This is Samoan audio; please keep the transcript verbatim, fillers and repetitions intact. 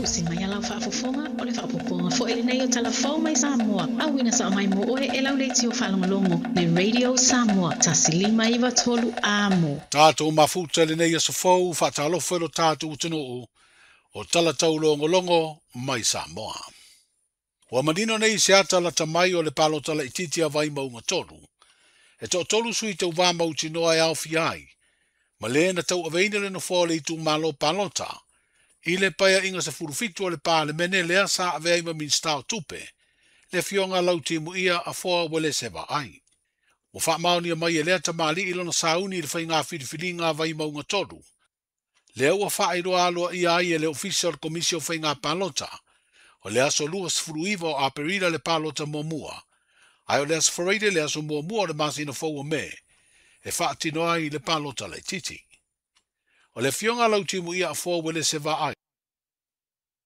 Usi mai a lau faafofoga o le faaopoopoga foi lenei o Tala Fou mai Samoa. Auina sao mai mo oe e lau leitio faalogologo le Radio Samoa tasi lima iva tolu amo. Tātou mafuta lenei aso fou faatalofa i lo tātou atunuu o tala taulogologo mai Samoa. Ua manino nei se ata lata mai o le palota laitiiti a Vaimauga tolu. E toatolu sui tauvā mautinoa e aofia ai, ma le na tauaveina le nofoa o le itumalo palota, i le paeaiga sefulu fitu o le Palemene lea sa avea ai ma Minisita o Tupe, le afioga Lautimuia Afoa Uelese Vaai. Ua faamaonia mai e lea tamalii lona sauni i le faiga filifiliga a Vaimauga tolu. Lea ua faailoa aloaia ai e le Ofisa o le Komisi o Faiga Palota, o le aso luasefulu iva o Aperila le palota muamua, ae o le aso Faraile le aso muamua o le masina fou o Me, e faatino ai le palota laitiiti. O le afioga Lautimuia Afoa Uelese Vaai,